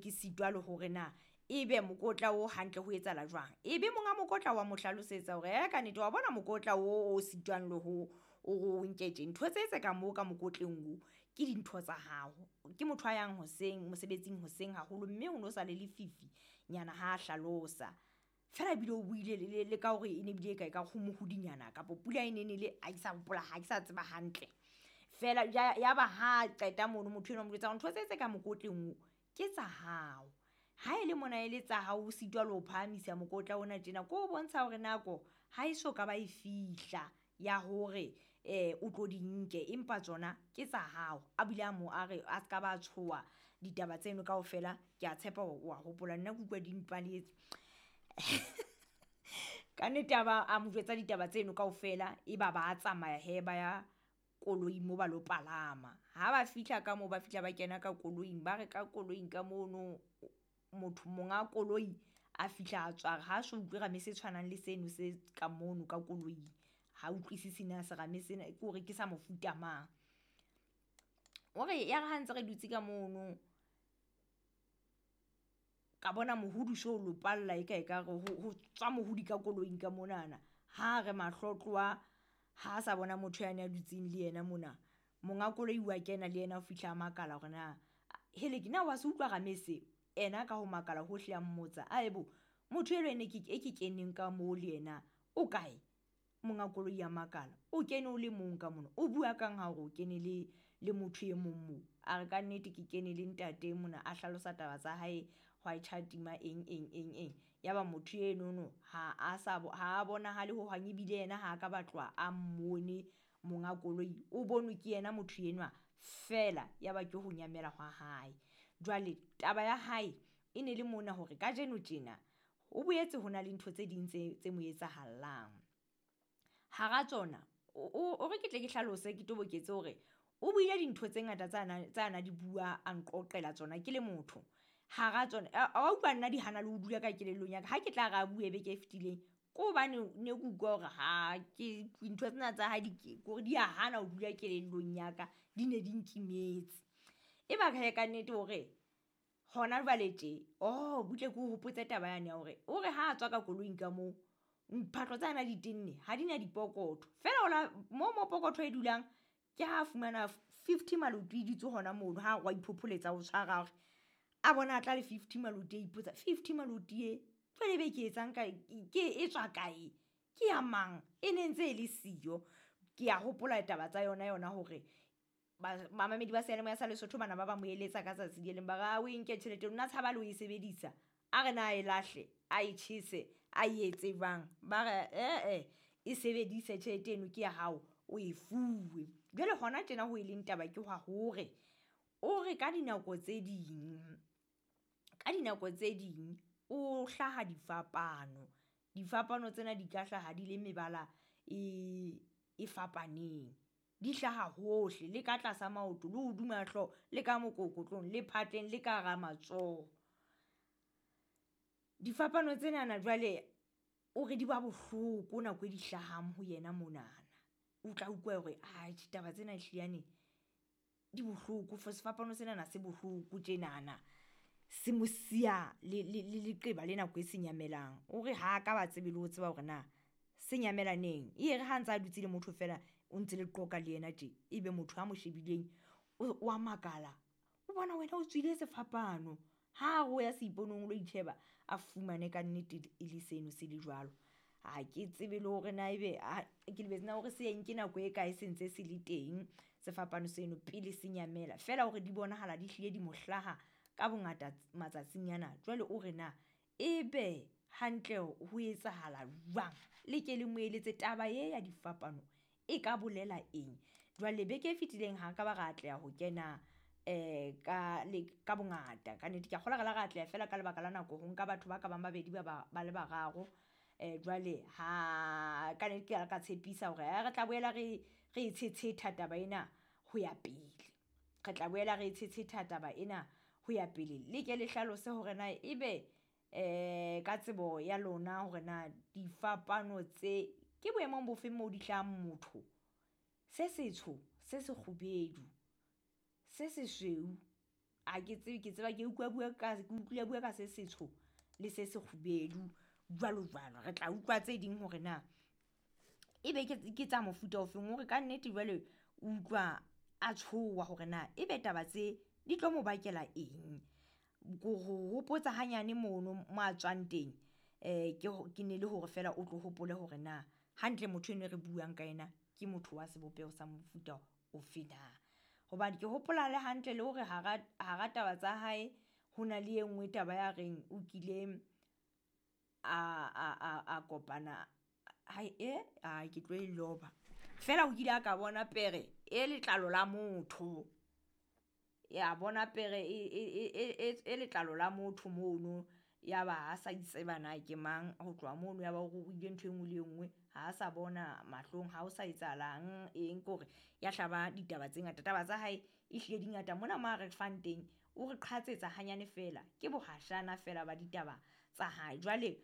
ke sitwa le hore na ebe mokotla o hantle ho etsahala jwang. Ebe monga mokotla wa mo hlalosetsa hore e ka nnete wa bona mokotla o o sitwang le ho o nke tje, ntho tse tse ka moo ka mokotleng o ke dintho tsa hao. Ke motho a yang hoseng mosebetsing hoseng haholo, mme ho no sa le lefifi nyana ha a hlalosa. Fela ebile o buile le ka hore e ne bile e ka ekare ho mohudinyana kapo pula e ne nele, ha ke sa hopola, ha ke sa tseba hantle. Fela ya ba ha qeta mono motho enwa o mo jwetsa hore ntho tse tse ka mokotleng o ke tsa hao. Ha e le mona e le tsa hao, o sitwa le ho phahamisa mokotla ona tjena, ko o bontsha hore nako ha e so ka ba e fihla ya hore o tlo di nke, empa tsona ke tsa hao. A bile a mo a re a ska ba tshoha ditaba tseno kaofela, ke a tshepa hore wa hopola, nna ke utlwa di mpaletse. Ka nnete a ba a mo jwetsa ditaba tseno kaofela, e ba ba tsamaya hee ba ya koloing mo ba lo palama. Ha ba fihla ka moo, ba fihla ba kena ka koloing, ba re ka koloing ka mono motho monga koloi a fihla a tswa ha so utlwe rame se tshwanang le seno se ka mono ka koloing. Ha utlwisisi na serame sena ke hore ke sa mofuta mang. O re ya re ha ntse re dutse ka mono, ka bona mohudu so o lopalla e ka ekare ho tswa mohudi ka koloing ka monana. Ha re mahlo tloha, ha sa bona motho yane a dutseng le yena mona. Monga koloi wa kena le yena o fihla a makala hore na heleke na wa se utlwa rame se? Ena ka ho makala hohle a mmotsa, aebo motho elwa e ne ke e ke keneng ka moo le yena o kae? Monga koloi a makala, o kene o le mong ka mona, o bua kang ha hore o kene le motho e mong moo? A re ka nnete ke kene le ntate mona, a hlalosa taba tsa hae, hwa tjhatima eng eng eng eng. Ya ba motho enono ha a sa ha bonahale ho hang, ebile yena ha ka ba tloha a mmone monga koloi, o bonwe ke yena motho enwa fela, ya ba ke ho nyamela hwa hae. Jwale taba ya hae e ne le mona hore kajeno tjena ho boetse ho na le ntho tse ding tse mo etsahallang. Hara tsona o re ke tle ke hlalose, ke toboketse hore o buile dintho tse ngata tsa na di bua, a nqoqela tsona ke le motho. Hara tsona wa utlwa nna di hana le ho dula ka kelellong ya ka. Ha ke tla re a bue beke e fetileng, ke hobane ne ke utlwa hore ha ke ntho tsena tsa hae di kore di a hana ho dula kelellong ya ka, di ne di nkimetse. E ba hee ka nnete hore hona jwale tje, oh butle ke o hopotse taba yane ya hore o re ha a tswa ka koloing ka moo, phahlo tsa na di tenne ha di na dipokotho. Fela ola mo mo pokotho e dulang, ke ha fumana 50 maloti e dutse hona mono, ha re wa iphopholetsa o tshwara hore a bona a tla le 50 maloti, a ipotsa 50 maloti e jwale be ke etsang ka ke e tswa kae, ke ya mang, e ne ntse e le siyo. Ke a hopola taba tsa yona yona hore bamamedi ba seyalemoya sa Lesotho bana ba ba mo eletsa ka tsatsi le leng, ba re o e nke tjhelete nna tshaba le ho e sebedisa, a re na e lahle, a e tjhese, a e etse jwang. Ba re e sebedise tjhelete eno ke ya hao, o e fuwe. Jwale hona tjena ho e leng taba ke hwa hore o re ka dinako tse ding, ka dinako tse ding o hlaha difapano. Difapano tsena di ka hlaha di le mebala e fapaneng, di hlaha hohle, le ka tlasa maoto, le hodima hlooho, le ka mokokotlong, le phatleng, le ka hara matsoho. Difapano tsenana jwale o re di ba bohloko nako e di hlahang ho yena monana. O tla utlwa hore atjhe taba tsena ehliyane di bohloko, for sefapano senana se bohloko tjenana, se mo siya le leqeba le nako e se nyamelang. O re ha ka ba tsebe le ho tseba hore na se nyamela neng. E re ha ntsa a dutse le motho fela, o ntse le qoqa le yena tje, ebe motho a mo shebileng o a makala, o bona wena o tswile sefapano. Ha re o ya seiponong o lo itjheba, a fumane ka nnete e le seno se le jwalo. Ha ke tsebe le hore na ebe ke lebetse na hore se nke nako e kae se ntse se le teng sefapano seno pele se nyamela. Fela hore di bonahala di hlile di mo hlaha ka bongata matsatsing ana. Jwale o re na ebe hantle ho etsahala jwang, le ke le mo eletse taba e ya difapano e ka bolela eng. Jwale beke e fetileng ha ka ba ra atleha ho kena ka le ka bongata. Ka nnete ke a kgolwa re la ra atleha fela ka lebaka la nako ho nka batho ba ka bang babedi ba le bararo. Jwale ha ka nnete ke ka tshepisa hore re tla boela re e tshetsheta taba ena ho ya pele. Re tla boela re tshetsheta taba ena ho ya pele. Le ke le hlalose hore na ebe ka tsebo ya lona hore na difapano tse ke boemong bofeng moo di hlahang motho, se setsho, se sekgubedu, se sesweu. A ke tsebe, ke tseba ke utlwa bua ka, ke utlwile bua ka se setsho le se sekgubedu jwalo jwalo. Re tla utlwa tse ding hore na ebe ke tsa mofuta ofeng, hore ka nnete jwale o utlwa a tshoha hore na ebe taba tse di tlo mo bakela eng. Ko ho hopotsa hanyane mono mo a tswang teng, ke ne le hore feela o tlo hopole hore na hantle motho eno e re buang ka yena ke motho wa sebopeho sa mofuta ofe na. Hobane ke hopola le hantle le hore hara taba tsa hae ho na le e nngwe taba ya reng o kile a kopana hae ke tlo e loba. Feela o kile a ka bona pere e letlalo la motho. Ya bona pere e letlalo la motho mono, ya ba ha sa itseba na ke mang. Ho tloha mono ya ba o ruruhile ntho e nngwe le e nngwe, ha sa bona mahlong, ha o sa etsahalang eng, ke hore ya hlaba ditaba tse ngata. Taba tsa hae ehlile di ngata. Mona mo a re fang teng o re qhatsetsa hanyane feela, ke bohashana feela ba ditaba tsa hae. Jwale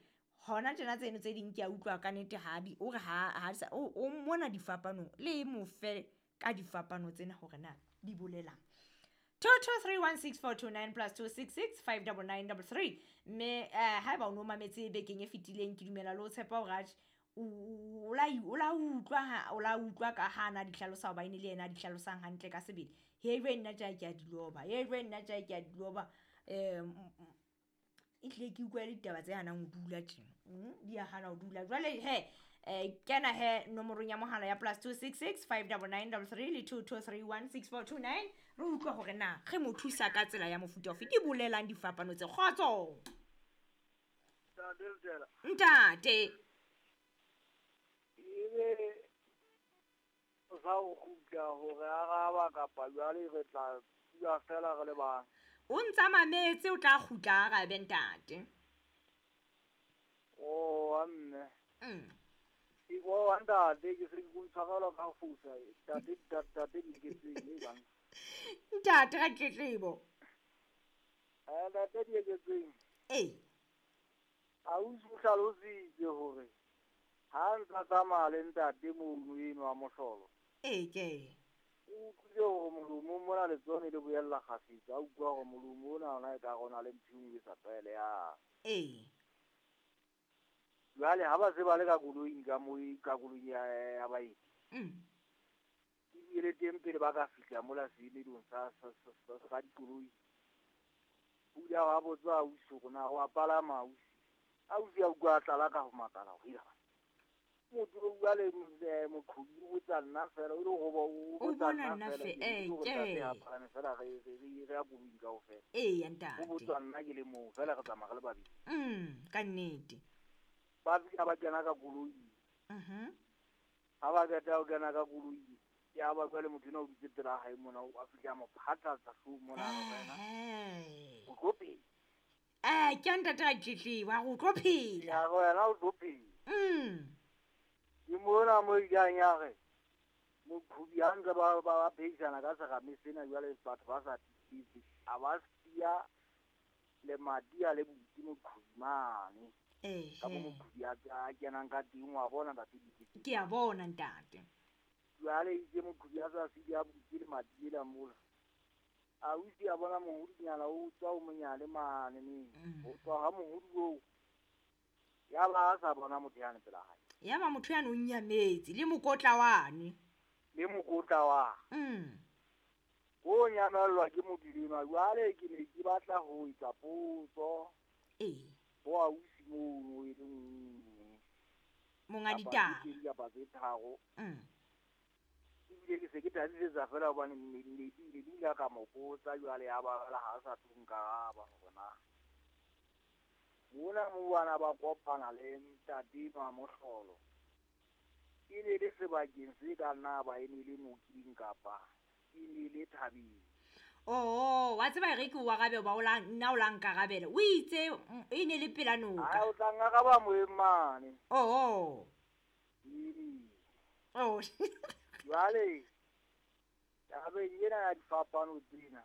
hona tjena tseno tse ding ke a utlwa ka nnete ha di, o re ha sa o mona difapanong, le mo fe ka difapano tsena hore na di bolelang. 22316429 plus 266 59933. Mme haeba o no mametse bekeng e fetileng, ke dumela le ho tshepa hore atjhe o la utlwa ka ha na di hlalosa, hoba ene le yena a di hlalosang hantle ka sebele. He jwe nna tja ke a di loba, he jwe nna tja ke a di loba. Ehlile ke utlwa le ditaba tse hanang ho dula tjena, di a hana ho dula. Jwale he kena he nomorong ya mohala ya plus 266 59933 le 22316429, re utlwa hore na re mo thusa ka tsela ya mofuta ofe. Di bolelang difapano tse? Kgotso ntate. Ebe o sa o kgutla hore araba kapa jwale re tla bua fela re le bang. O ntsa mametse, o tla kgutla arabe ntate. O wa mme. O wa ntate, ke se ke tshwarelwa ka ho fosa. Ntate, ntate ke tseng e bang. Ntate ra tletlebo. Ntate di eketseng. Ee. A o hlalositse hore ha ntsa tsamaya le ntate mono eno wa mohlolo. Ee ke. O utlwile hore molomo mona letsone le boella kgafetsa, a utlwa hore molomo ona ona e ka rona le ntho e nngwe e sa tlwaelehang. Ee. Jwale ha ba se ba le ka koloing ka moo, ka koloing ya baeti. Ebile teng pele ba ka fihla mola seemelong sa dikoloi. O ile a botsa ausi hore na wa palama ausi. Ausi a utlwa a tlala ka ho makala ho ira. Motho o bua le moqhobi o botsa nna fela, o ile ho o botsa bona nna nna fela, ke. A palame fela re ya koloing kaofela. Ee, ntate. O botsa nna ke le mong fela, re tsamaya re le babedi. Ka nnete. Ba fihla ba kena ka koloi. Ha ba qeta ho kena ka koloi, ya ba jwale motho enwa o dutse pela hae mona, o a fihla mo phatlatsa hloohong mona wena. O tlo phela. Ke a ntate a tletleba, o tlo phela. Ya wena o tlo phela. Ke mona mo ileng ya re moqhobi ha ntse ba phehisana ka serame sena jwale batho ba sa tiise, a ba siya lemati a le butse moqhobi mane. Ka mo moqhobi a kenang ka teng, wa bona ntate Dikete? Ke a bona ntate. Jwale itse moqhobi a sa siya a butse lemati ela mola. Ausi a bona mohodinyana o tswa o monyane mane neng. Ho tswa ha mohodi oo, ya ba a sa bona motho yane pela hae. Ya ba motho yane o nyametse le mokotla wane. Le mokotla wa. O nyamellwa ke motho enwa. Jwale ke ne ke batla ho etsa potso. Ee. Ho ausi mono e le nngwe. Monga ditaba. Kapa tse pedi kapa tse tharo. Ebile ke se ke tadisetsa fela hobane ne ile ka mo botsa jwale ya ba ha sa tlo nkaraba hore na. Mona mo bana ba kopana le ntate wa mohlolo. E ne le sebakeng se ka nna ba e ne le nokeng kapa e ne le thabeng. Oh, wa tseba re ke o arabe ba o la nna o la nkarabela. O itse e ne le pela noka. Ha o tla nkaraba moeng mane. Oh. Oh. Jwale tabeng ena ya difapano tsena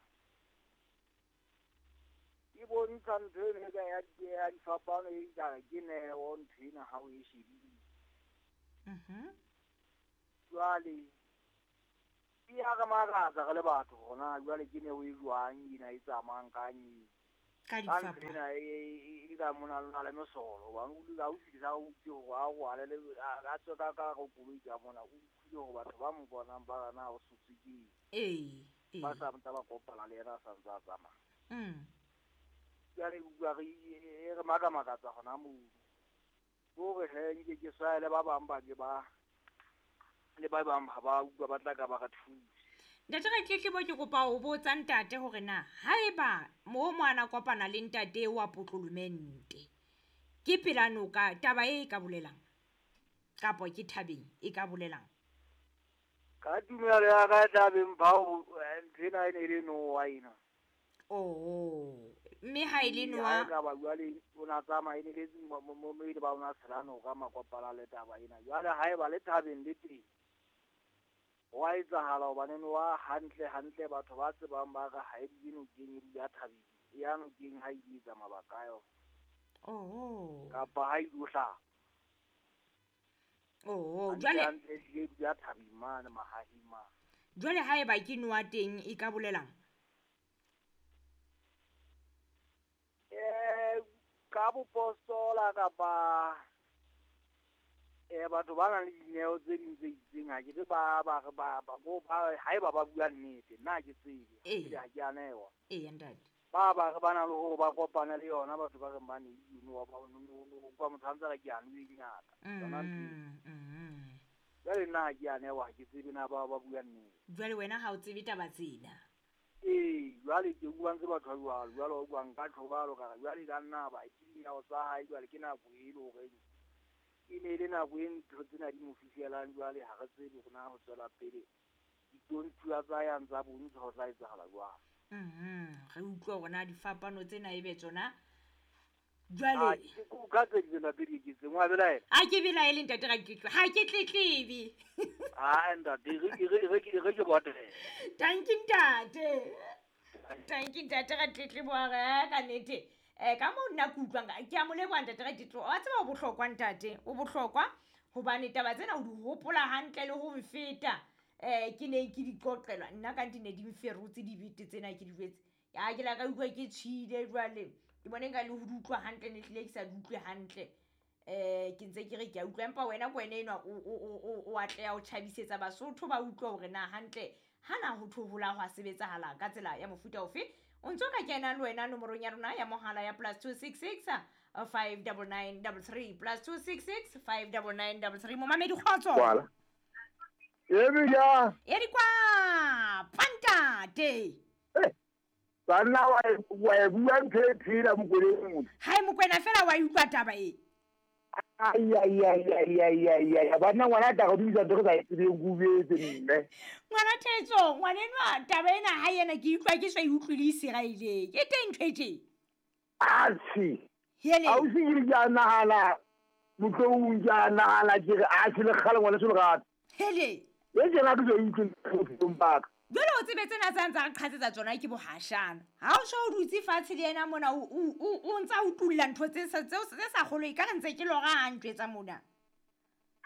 e bontsha ntho eno e ya difapano e ka ke neo ntho ena ha o e shebile. Jwale E ya re makatsa re le batho gona jwale ke neo e jwang ena e tsamayang kang e ka ka ntho difapano ena e ka mona lona le mesolo hobane o dula o fihlisa o utlwe hore a rwale le a tswe ka ka hare ho koloi ka mona, o utlwile hore batho ba mo bonang ba re na o sotswe ke eng. Ee, Ba ee. sa ntse ba kopana le yena a sa ntse a tsamaya. Jwale e utlwa re e re makamakatsa hona moo. Ke hore hee nke ke swaele ba bang ba ke ba le ba bang ha ba utlwa ba tla ka ba re thuse. Ntate Ratletlebo, ke kopa ho botsa ntate hore na haeba mo mo ana kopana le ntate wa potlolomente ke pela noka, taba e ka bolelang kapa ke thabeng e ka bolelang? Ka tumelo ya ka e tla beng bao ntho ena e ne e le nowa ena. Oh, mme ha e le Ee, ha nowa e ka ba jwale o na tsamaya e ne le mo e le ba o na tshela noka makopana le taba ena. Jwale haeba le thabeng le teng, ho a etsahala hobane nowa hantle hantle batho ba tsebang ba re ha e dule nokeng, e dula thabeng. E ya nokeng ha e etsa mabaka a yona. Oh. Kapa ha e ilo hlapa. Oh, Hantle jwale hantle ehlile e dula thabeng mane mahaheng mane. Jwale haeba ke nowa teng e ka bolelang? Ka bopostola kapa batho ba nang le dineo tse ding tse itseng, ha ke re ba ba re ba ba bo ba haeba ba bua nnete, nna ha ke tsebe, Ee. ha ke a newa. Ee, ntate. Ba ba re ba na le hore ba kopane le yona batho ba reng ba neilwe wa ba o utlwa motho a ntse a re ke a nwele ngaka. Yona ntho eo. Jwale nna ha ke a newa, ha ke tsebe na ba ba bua nnete. Jwale wena ha o tsebe taba tsena. Ee, jwale ke utlwa ntse batho ba jwalo, jwale wa utlwa nka tjho jwalo ka re jwale ka nna ba ke dinao tsa hae jwale ke nako e le horeng e ne e le nako e ntho tsena di mo fihlelang jwale ha re tsebe hore na ho tswela pele ditontshuwa tsa yang tsa bontsha ho tla etsahala jwang. Re utlwe hore na difapano tsena ebe tsona. Ah, Jwale ke ka tse ding tsena tse di eketseng, wa belaela? Ha ke belaele ntate Ratletlebo, ha ke tletlebe. Ah, ntate, re ke botele. Tanki ntate. Tanki ntate Ratletlebo a re ka nnete. Ka moo nna ke utlwang ka, ke a mo leboha ntate Ratletlebo. Wa tseba o bohlokwa ntate, o bohlokwa hobane taba tsena o di hopola hantle le ho mfeta. Ke ne ke di qoqelwa, nna ka nnete ne di mferotse dibete tsena ke di jwetse. Ya ke la ka utlwa ke tjhile jwale. Ke bone nka le ho di utlwa hantle, ne hlile ke sa di utlwe hantle. Ke ntse ke re ke a utlwa, empa wena ke wena enwa o atleha ho tjhabisetsa Basotho ba utlwe hore na hantle hana ho thohola ho a sebetsahala ka tsela ya mofuta ofe. O ntso ka kena le wena nomorong ya rona ya mohala ya +266 599 33, +266 599 33. Momamedi kgotso. Kwala. E ja. E di kwa pantate. Banna wa e bua ntho e phela Mokwena motho. Hai Mokwena fela wa utlwa taba e. Ai ai ai ai ai ai ai, banna ngwana tla go dumisa ntho re sa e tsebeng ko betse mme. Ngwana Thetso, ngwanenwa taba ena ha yena ke utlwa ke sa e utlwile Iseraeleng. Ke teng ntho e tje? Atjhe. Hele. Ausi ke re ke a nahana, motloung ke a nahana ke re atjhe le kgale ngwana se lerato. Hele. E tjena ke sa e utlwe bophelong ba ka. Jwale o tsebe tsena tsa ntsa re qhatsetsa tsona ke bohashana. Ha o so o dutse fatshe le yena mona o ntsa o tulla ntho tse sa, tseo tse sa kgolwe, ka re ntse ke lora ha ntjwetsa mona.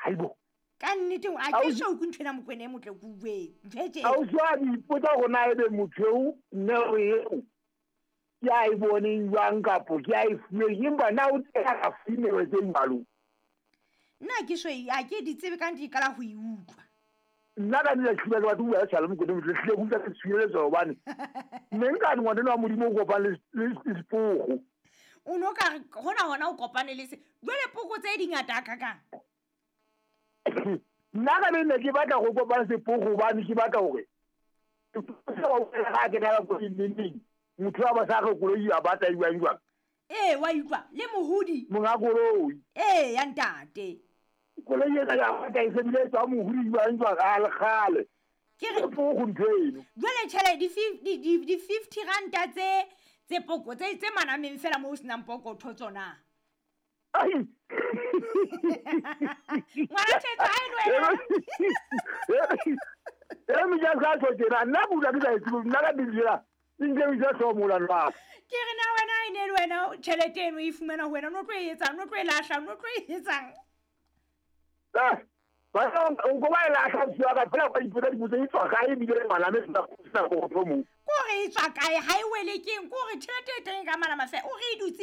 Haibo. Ka nnete, a ke so utlwe ntho ena Mokwena e motle ke utlwe. Ntho e tje. Ausi wa di ipotsa hore na ebe motho eo neo eo ke a e boneng jwang kapo ke a e fuweng, empa na o teng a ka fuwe neo tse jwalo? Nna ke so e, ha ke di tsebe ka nnete, ke qala ho e utlwa. Nna ka nnete ke hlile ke batla ho bua le Mokwena motle, hlile ke utlwa ke tshireletso hobane ne nka re ngwana wa Modimo o kopane le sepoko. O no ka re hona hona o kopane le se. Jwale poko tse di ngata hakakang? Nna ka nne ke batla go kopana sepoko hobane ke batla hore ga ke na go neng motho wa ba sa re koloi a batla e jwang jwang. Ee, wa utlwa le mohudi. Monga koloi. Ee, ya ntate. Koloi ena ya batla e sebile tswa mohudi jwang jwang a le kgale. Ke re poko ntho eno. Jwale tjhelete di 50 ranta tse poko tse manameng fela mo ho senang pokotho tsona. Ai. Ngwana Thetso, ha e le wena. E me ja sa tlo tjena, nna ke utlwa ke sa e tsebe, nna ka ditsela, e nke e ja hlomola nna. Ke re na wena ha e ne le wena, tjhelete eno e fumana ho wena, no tlo e etsang, no tlo e lahla, no tlo e etsang? Ah. Ba o ko ba e lahla ausi wa ka fela ka ipotsa dipotso e tswa kae ebile malame sena go tlo mo. Ko re e tswa kae, ha e wele keng? Ko re tjhelete e teng ka malama fe o re e dutse.